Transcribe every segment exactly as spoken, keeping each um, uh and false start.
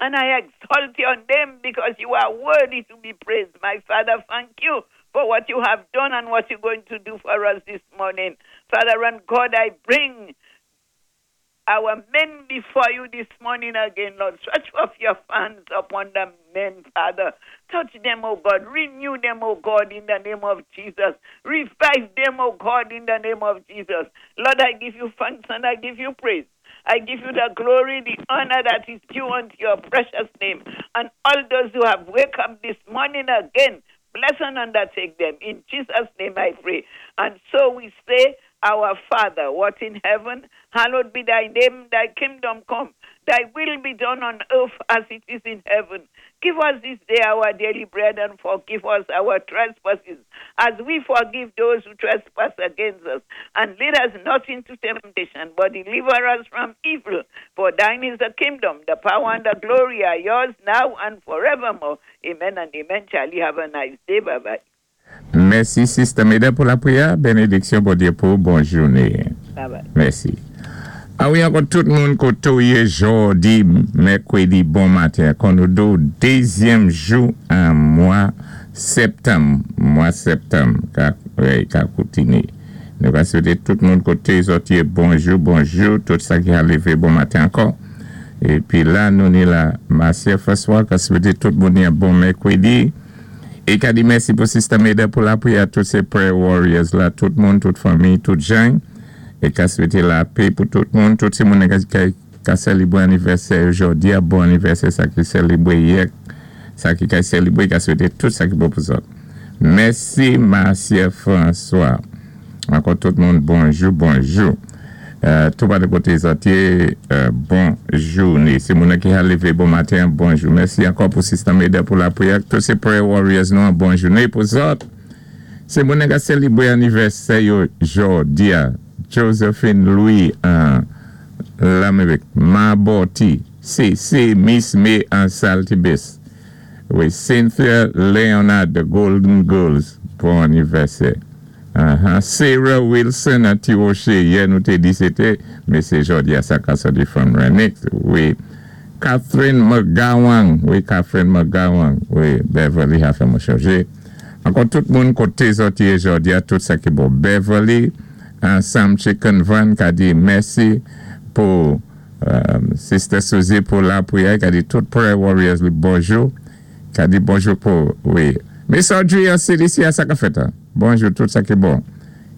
And I exalt your name because you are worthy to be praised. My Father, thank you for what you have done and what you're going to do for us this morning. Father and God, I bring our men before you this morning again, Lord. Stretch forth your hands upon the men, Father. Touch them, O God. Renew them, O God, in the name of Jesus. Revive them, O God, in the name of Jesus. Lord, I give you thanks and I give you praise. I give you the glory, the honor that is due unto your precious name. And all those who have wake up this morning again, bless and undertake them. In Jesus' name I pray. And so we say, Our Father, what in heaven, hallowed be thy name, thy kingdom come, thy will be done on earth as it is in heaven. Give us this day our daily bread and forgive us our trespasses as we forgive those who trespass against us. And lead us not into temptation, but deliver us from evil. For thine is the kingdom, the power, and the glory are yours now and forevermore. Amen and amen. Charlie, have a nice day. Bye bye. Mèsi, Sister Meda, pou lapriyè. Bénédiksyon, Bondyé pou bòn jounen. Bye bye. Mèsi. A wi, ankò tout moun koté ou yé jòdi, mèkwédi, bon maten. Kon nou do dézyèm jou an mwa septanm, mwa septanm, ka, wi, ka kontiné. Nou va swété tout moun koté zòt yé bonjou, bonjou, tout sa ki a lévé bon maten ankò. Épi la, nou ni la, Marcia François, ka swété tout moun yon bon mèkwédi. É ka di mèsi pou Sister Meda pou lapriyè, tout sé prayer warriors la, tout moun, tout fanmi, tout jan. É ka swété lapè pou tout moun, tout sé moun ka, ka sélébwé anivèsè jòdi a, bon anivèsè sa ki sélébwé yè, sa ki ka sélébwé, ka swété tout sa ki bon pou zòt. Mèsi Marcia François. Ankò tout moun, bonjou, bonjou. Euh, tout pa de koté zòt yé, euh, bon jounen. Sé moun ki a lévé bon maten, bonjou. Mèsi ankò pou Sister Meda pou lapriyè. Tout sé prayer warriors nou, bon jounen pou zòt. Sé moun ki sélébwé anivèsè yo jòdi a. Josephine Louis an Lamérik, Maboti, C C Miss May an Saltibus. Wi, Cynthia Leonard, the Golden Girls, bon anivèsè. Uh-huh. Sarah Wilson an Tiwoché, yè nou té di sété, mé sé jòdi a sa ka sòti from Renix. Wi, Catherine McGowan, wi, Catherine McGowan, wi, Beverly a fè mwen chanjé. Ankò tout moun koté zòt yé jòdi a tout sa ki bon. Beverly, ansanm Chicken Van ka di mèsi pou um, Sister Suzy pou lapriyè, ka di tout prayer warriors li bonjou, ka di bonjou pou, wi. Miss Audrey an C D C a sa ka fèt, hein? Bonjou tout sa ki bon.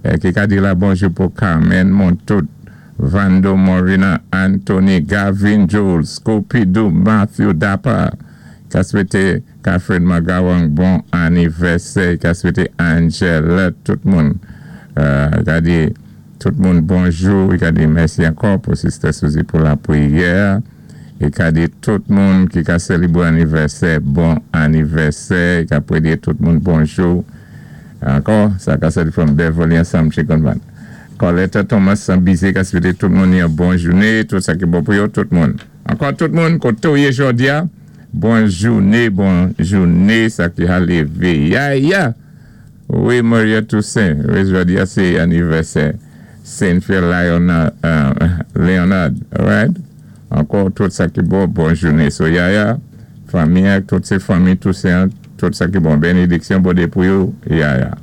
Eh, ki ka di la bonjou pou Carmen Montout, Vando Morina, Anthony, Gavin Jules, Scopidou, Matthew Dapper, ka swété Catherine McGowan bon anivèsè, ka swété Angela, tout moun. Euh, ka di tout moun bonjou, ka di mèsi ankò pou Sister Suzy pou lapriyè, é ka di tout moun ki ka sélébwé anivèsè, bon anivèsè, ka pwé tout moun bonjou. Ankò, sa ka sòti from Beverly ansanm Chicken Van. Coletta Thomas san Bizé ka swété tout moun yon bon jounen, tout sa ki bon pou yo, tout moun. Ankò tout moun, koté ou yé jòdi a, bon jounen, bon jounen, sa ki a lévé. Ya, ya! Wi, Maria Toussaint, wi, jòdi a sé anivèsè Saint-Pierre Leonard, uh, Leonard, alright? Ankò tout sa ki bon, bon jounen. So, ya, ya, fanmi, tout sé fanmi Toussaint, tout sa ki bon, bénédiksyon, Bondyé pou yo, ya, ya.